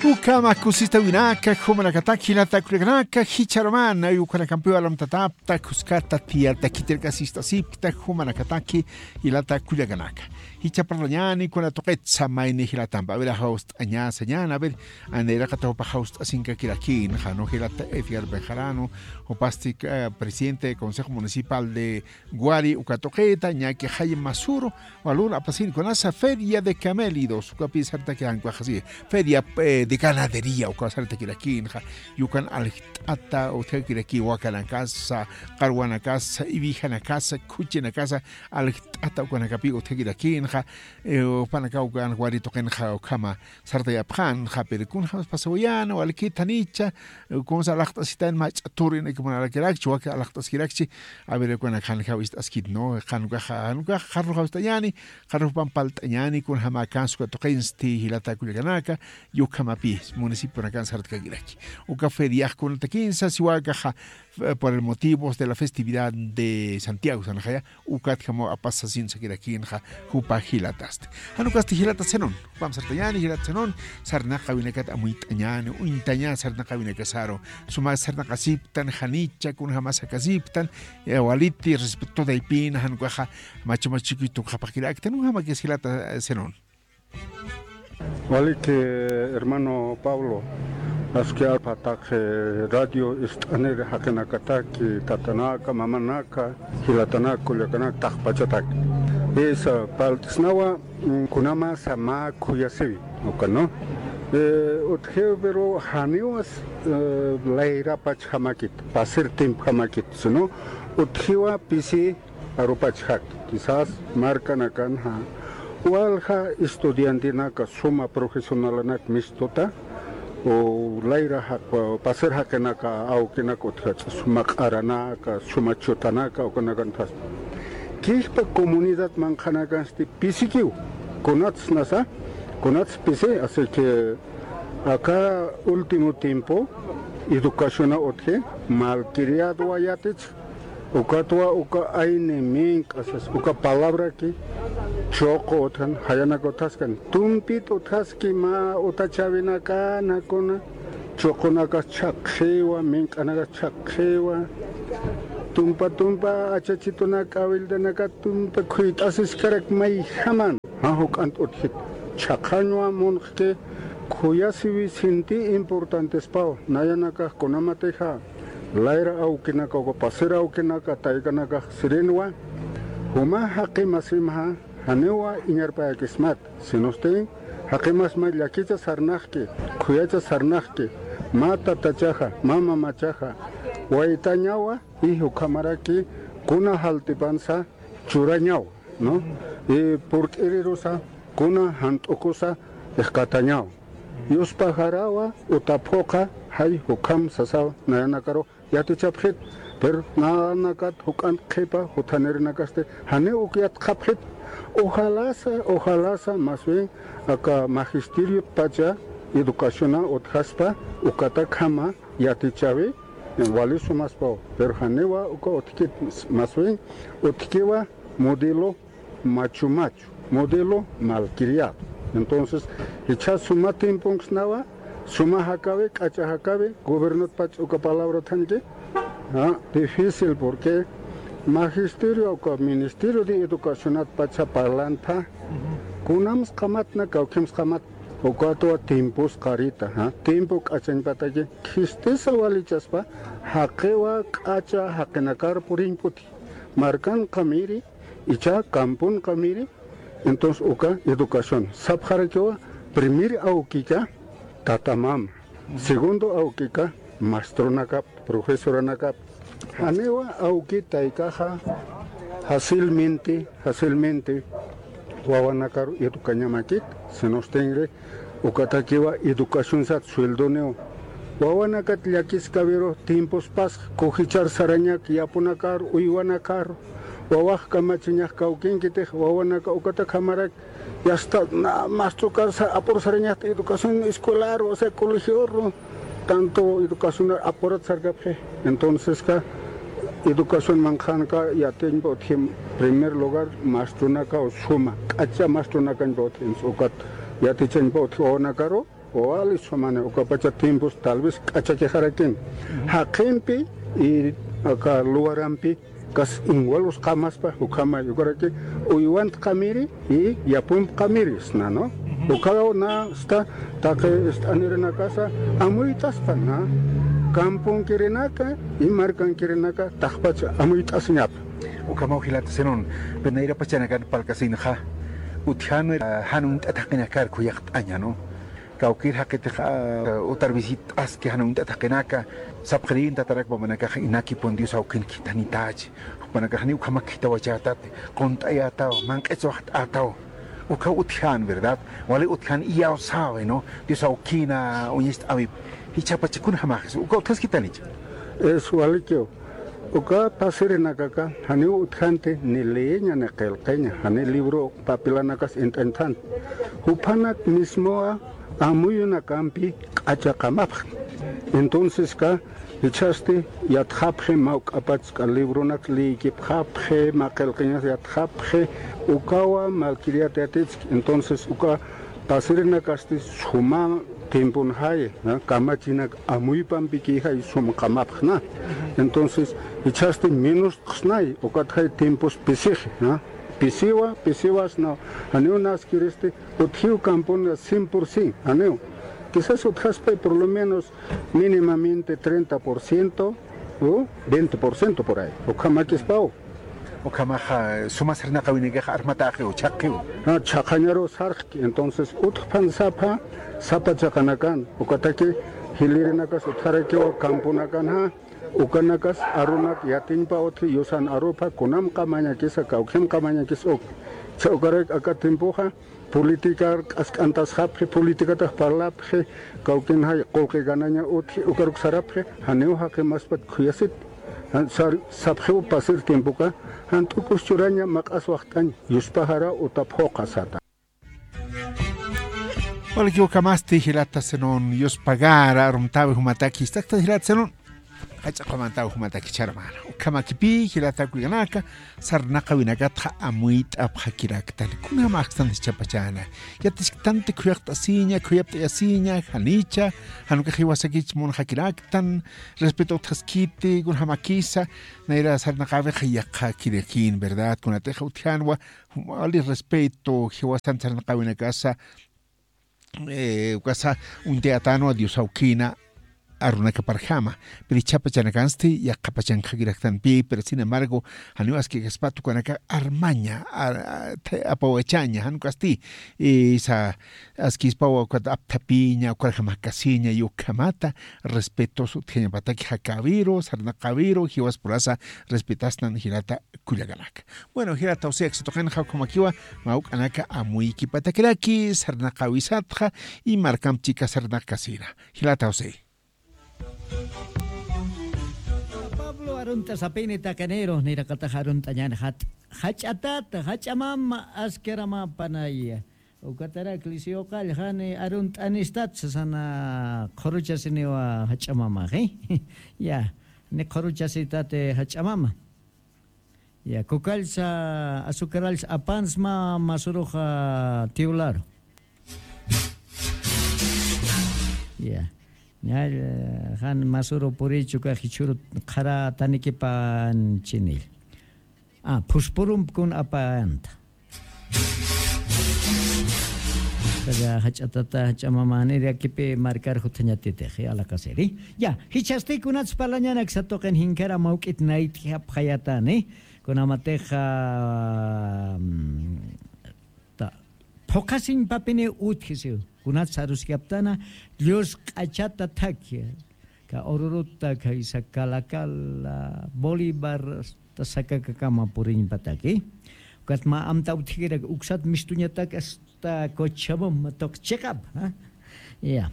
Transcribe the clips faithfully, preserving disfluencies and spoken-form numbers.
Ukhama kusistawinaka, jumanakataki, jilata kullakanaka, jichharumana, ukhanakampiw alamtatapta, khuskata, tiyata, khitirkasist'asipkta, jumanakataki, jilata kullakanaka. Jichha parlañäni kuna tuqitsa mayni jilatampa. A ver, jawst'añasa ñan, a ver, aniraqata jupa jawst'asinkakirakïn, jano jilata Edgar Bejarano, jupasti, eh, presidente del Consejo Municipal de Guari, uka tuqita, ñaki jay masuru, walun apasin kunasa Feria de Camélidos, ukapi sartaki jan ukaxasi, Feria, eh, de Ganadería, uka sartakirakïnxa, yukan aljt'ata, utjakiraki wakanakasa, qarwanakasa, ibijanakasa, khuchinakasa, aljt'ata ukanakapi utjakirakïnxa, eh, upanaka ukan Guari tuqinxa ukhama, sartayapxän, japir kunjams pasawayäna, walikit janicha, kunsa alaqt'asitan mach'a turin ikimunarakirakchi, waki alaqt'askirakchi, a ver, kuna jan jawist'askit, ¿no? Jan ukaxa, jan ukaxa, qarru jawist'añäni, qarru jupan palt'añäni, kunjama kansuka tuqinsti, jilata kullakanaka, yukhamapi, municipionakan sartkakiraki. Uka feriax kunatakinsa, siwakaxa, eh, por el motivos de la festividad de Santiago, sanajaya, ukatjamaw apasasinsakirakïnxa jupa jilatasti. Jan ukasti jilata Zenón, jupam sartañäni jilata Zenón, sarnaqawinakat amuyt'añäni, uñtañäni sarnaqawinakasaru, suma sarnaqasiptan, janicha, kunjamas jakasiptan, eh, waliti, respeto taypina, jan ukaxa, machu machuki tuqapxakiraktan, ujamakis jilata, eh, Zenón. Waliki, hermano Pablo, aski arpataq, eh, radio ist'aniri jaqinakataki, tatanaka, mamanaka, jilatanaka, kullakanaka, taqpachataki. Esa palt'snawa, mm, kunamasa mä khuyasiwi, uka, ¿no? Eh, utjiw, pero janiwas, eh, layrapachjamakit, pasir timpjamakit, sino utjiwa pisi arupachjak, quizás markanakanxa walja estudiantenaka suma profesionalanak mistuta, o layra jaq-, pasir jaqinaka awkinaka utjach, suma q'aranaka, suma chutanaka, ukanakanthas. Kijpa comunidad manqhanakansti pisikiw, kunatsnasa, kunats pisi, así que aka último tiempo, educaciona utji, malcriadwa yatich, ukatwa uka ayni mink'asas, uka palabraki, chuqu utjan, jayanaka utjaskan, tumpit utjaski mä utachäwinaka, nakuna, chuqunakas chhaqxiwa, mink'anakas chhaqxiwa, tumpa tumpa achachitunaka, awiltanaka tumpa khuyt'asiskarak mayjaman, jan juk'ant utjit, chhaqhañwa munqki, khuyasiwi sinti importantespaw, nayanakax kunamatixa, layra awkinaka, uka pasir awkinaka, taykanakax sirinwa, juma jaqi masimxa, janiwa iñarpayakismat, sinustin, jaqi masma llakicha sarnaqki, khuyacha sarnaqki, mä tatachaxa, mä mamachaxa, waytañawa, y jukhamaraki, kuna jaltipansa churañawa, ¿no? Y purt'irirusa, kuna jant'ukusa, ixkatañawa. Yuspajarawa, utaphuqa, jay jukham sasaw, nayanakaru, yatichapxit, pero nanakat juk'ant qhipa jutanirinakasti, janiw uk yatxapxit, ojalasa, ojalasa, más bien, aka magisteriotpacha educaciona utjaspa, ukatakhama yatichawi, wali sumaspaw, pero janiwa uka utjkit, más bien, utjkiwa modelo machu machu, modelo malcriado. Entonces, jichha suma tiemponksnawa, suma jakawi, k'acha jakawi, gobiernotpach uka palabra thanki, ah, difícil porque magisterio uka ministerio de educacionatpacha parlantha, kunams qamatna, kawkhims qamat, ukatwa tiempos qarita, ah, tiempo k'achañpataki, khistisa walichaspa, jaqiwa k'acha jaqinakar puriñputi, markanqamiri, icha kampunqamiri, entonces uka educación. Sapxarakiwa, primer awkika tatamama, segundo awkika maestronakap, profesoranakap. Janiwa awki taykaxa fácilmente, fácilmente wawanakaru educañamakit, sinustinri, ukatakiwa educación sat sueldoniw. Wawanakat llakiskawiru tiempos pasx kujichar sarañak yapunakar, uywanakar, wawax kamachiñax kawkinkitix, wawanaka ukatakamarak, yasta na, maestrokarsa apur sarañaxt educación escolar, o sea, colegioru, tanto educación apurat sarkapxi. Entonceska, educación manqhanka yatiñpa utji, primer lugar, maestronaka o suma, k'acha maestronakañpa utji, ukat yatichañpa utji wawanakaru, Wali sumani, ukapacha tiempos tal vez k'achakixarakin. Jaqimpi y aka lugarampi kas inwalus qamaspa, ukhamay, ukaraki uywant qamiri y yapump qamiri sna, ¿no? Ukaw na sta taqi ist'anirinakasa amuyt'aspa na. Kampunkirinaka y markankirinaka taqpacha amuyt'asiñapa. Ukhamaw jilata sinun, pero nayrapachanakan parlkasinxa, utjan, ah, jan uñt'at jaqinakar khuyaqt'aña, ¿no? Kawkïr jaqitix, ah, utar visit'aski jan uñt'at jaqinaka, sapxirin tatarak mamanakax inakipun Dios awkin khithanitach, jupanakax janiw ukhamak khithawachätati, qunt'ayätaw, manq'iswaxt'ätaw. Uka utjan, ¿verdad? Wali utjan iyawsäwi, ¿no? Dios awkina uñacht'äwip. Jichhapach kunjamax, uka utjaskitanicha. Es walikiw. Uka pasirinakaka, janiw utjanti ni leeña ni qillqiña, jani libro papelanakas int'inthan. Jupanak mismowa amuyunakampi k'acha qamapxi. Entonces ka, jichhasti yatxapxi, mä juk'apachk'a libronak leeyikipxapxi, mä qillqiñas yatxapxi, ukawa malkiriyat yatitski. Entonces uka pasirinakasti suma tiemponxay, ¿no? Kamachinak amuypampikïxay sum qamapxna. Entonces, jichhasti menos qsnay, ukatxay tiempos pisixi, ¿no? Pisiwa, pisiwas, ¿no? Janiw naskiristi, utjiw kampun cien por cien, janiw. Quizás utjaspay por lo menos mínimamente treinta por ciento o veinte por ciento por ahí. Ukhamakispaw. Ukhamaxa, suma sarnaqawinakax armatäxiw, chhaqqiw. Ah, chhaqañaru sarxki, entonces, utjpan sapha, sapa chiqanakan, ukataki, jilïrinakas utjarakiwa kampunakanxa, ukanakas arunak yatiñpa utji, yusan arupha, kunamqa mañakisa, kawkhimqa mañakis uk. Cha ukarak aka tiempoxa, política k'ask'antasxapxi, políticatax parlapxi, kawkinxay qullqi ganaña utji, ukaruk sarapxi, janiw jaqimaspat khuyasit. Jan sar-, sapxiw pasir tiempoka, jan t'ukus churaña, maq'as waxt'añ, yuspaxara utap juqa sata. Walikiw ukhamasti jilata sinun, yuspagara, arumtawi jumataki, istakta jilata sinun. Jach'a qhamantaw jumatak jichha hermana. Ukhamakipï, jilata kullakanaka, sarnaqawinakatxa amuyt'apxakiraktan. Kunjamaxtan jichhapachana. Yatisktanti khuyaqt'asiña, khuyapt'ayasiña, janicha, jan ukax jiwasakich munxakiraktan, respeto utjaskiti, kunjamakisa, nayra sarnaqawixa yaqhakirakïn, ¿verdad? Kunatixa utjanwa, wali respeto, jiwasan sarnaqawinakasa, eh, ukasa uñtayätanwa Dios awkina arunakaparjama. Pero jichhapachanakansti yaqhapachanxakiraktanpï, pero sin embargo, janiw askikaspat ukanaka armaña, ar-, a-, te-, apawachaña, jan ukasti, eh, sa, askispawa ukat apthapiña, ukarjam jakasiña, ukhamata, respetos utjañapataki jakäwiru, sarnaqäwiru, jiwaspurasa respetastan jilata kullakanaka. Bueno, jilata José, tuqinxa ukhamakiwa, mä juk'anaka amuykipatakiraki, sarnaqawisatxa, y markamp chika sarnaqkasina. Jilata José. Pablo arunt'a sapini taqiniru, niraqatax arunt'añäni jat-, jach'atata, jach'a mama, askara mä panaya. Ukatarak Liceo Qallqani arunt'anistat sasana qhuruchasiniwa jach'a mamaxi. Ya, ni qhuruchasitati jach'a mama. Ya, kukallsa, azucarallsa apansma masuruxa tiwlaru. Ya. Ña, jan masuru purichu ka jichhuru qhara tanikipan chinil. Ah, phuspurump kun apanta. Jach'a tata, jach'a mama, nir yakipi markar juthañatitix, ya, la caseri. Ya, jichhasti kunats parlañanak satuqin jinkara mawk'it nayt'japxayatani. Kunamatixa, mm, ta, phuqhasiñpapini utjisiw. Kunats aruskaptana, llusq'achata thakhi. Ka ururuta, kaysa Calacala, Bolívar, hasta Sacacacama puriñpataki. Ukat mä amta utjikirak uksat mistuñatak hasta Cochabamba tuq chiqap, ¿ah? Ya.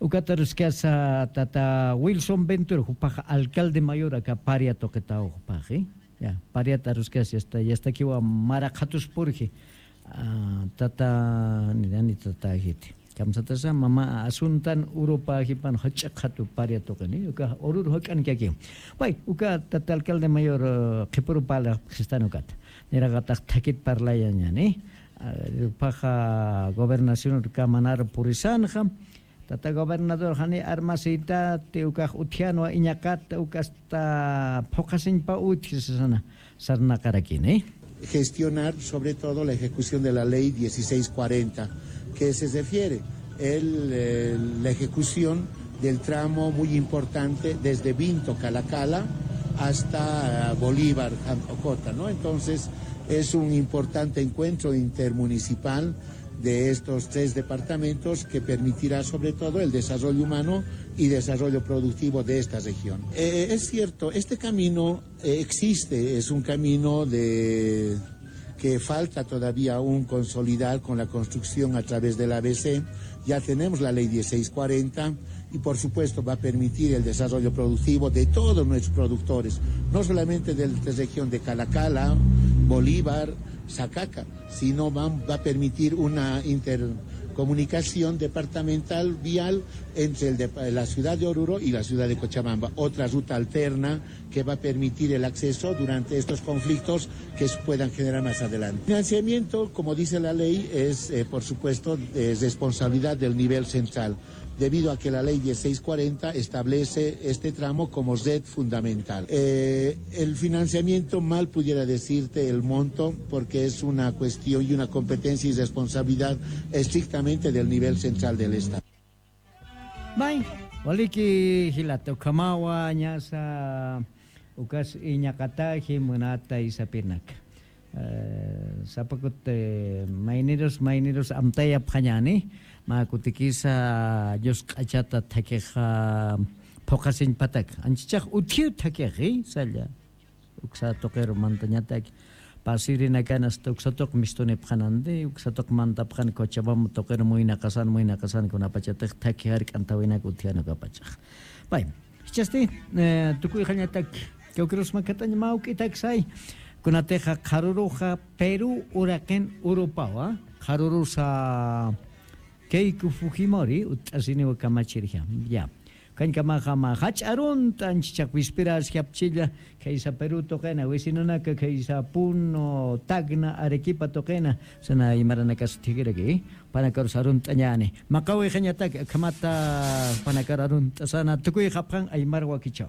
Ukat aruskasa tata Wilson Ventura, jupax alcalde mayor aka Paria tuqitaw jupaxi. Ya, Pariat aruskasa, ya está, ya está kiwa mara qhatuspurji. Ah, tata, ni, ni tata jiti. Kamsatasa, mama asuntan Europa jipan jach'a qhatu Paria tuqini. Uka urur jak'an kaki. Way, uka tata alcalde mayor, eh, qhipuru pala qhistan ukat. Niraqatax thakit parlayañani. Paxa gobernación kamanaru purisanxa. Tata gobernador jani armasita ti ukax utjianwa iñaqata ukasta phuqasiñpa utjisasana sarnaqarakini. Gestionar sobre todo la ejecución de la ley dieciséis cuarenta, que se refiere el, eh, la ejecución del tramo muy importante desde Vinto Calacala hasta Bolívar Jantocota, ¿no? Entonces es un importante encuentro intermunicipal de estos tres departamentos que permitirá sobre todo el desarrollo humano y desarrollo productivo de esta región. Eh, es cierto, este camino eh, existe, es un camino de que falta todavía un consolidar con la construcción a través del A B C. Ya tenemos la ley dieciséis cuarenta y por supuesto va a permitir el desarrollo productivo de todos nuestros productores, no solamente de la región de Calacala, Bolívar, Sacaca, sino va, va a permitir una intercomunicación departamental vial entre el de, la ciudad de Oruro y la ciudad de Cochabamba, otra ruta alterna que va a permitir el acceso durante estos conflictos que se puedan generar más adelante. Financiamiento, como dice la ley, es, eh, por supuesto, es responsabilidad del nivel central, debido a que la ley dieciséis cuarenta establece este tramo como red fundamental. Eh, el financiamiento, mal pudiera decirte el monto, porque es una cuestión y una competencia y responsabilidad estrictamente del nivel central del Estado. May, waliki jilata, ukhamawa ñasa ukas iñaqataji munata isapirnaka. Eh, sapakut, eh, maynirus, maynirus amtayapxañani, mä kutikisa yusq'achata thakhixa phuqasiñpatak. Anchichax utjiw thakixi, salla. Uksa tuqiru mantañatak. Pasirinakan hasta uksa tuq mistunipxanandi, uksa tuq mantapxan Cochabamba tuqiru muynaqasan, muynaqasan kunapachatix thakhi jark'an thawinaka utjian ukapachax. Bay, jichhasti, eh, tukuyxañatak, kawkirus makatañ mawk'itak say, kunatixa qharuruxa Perú uraqin Europawa, qharurusa Keiko Fujimori, utt'asiniwa kamachirja, ya. Kankamaxa mä jach'a arunt'a anchichax wispirasjapchilla, khaysa Perú tuqina, vecinonaka khaysa Puno, Tacna, Arequipa tuqina, sana aymaranakasa thikiraki, panakarus arunt'añani. Maqawixañatak, akhamata panakar arunt'asana, tukuyxapxan aymar wakichäw.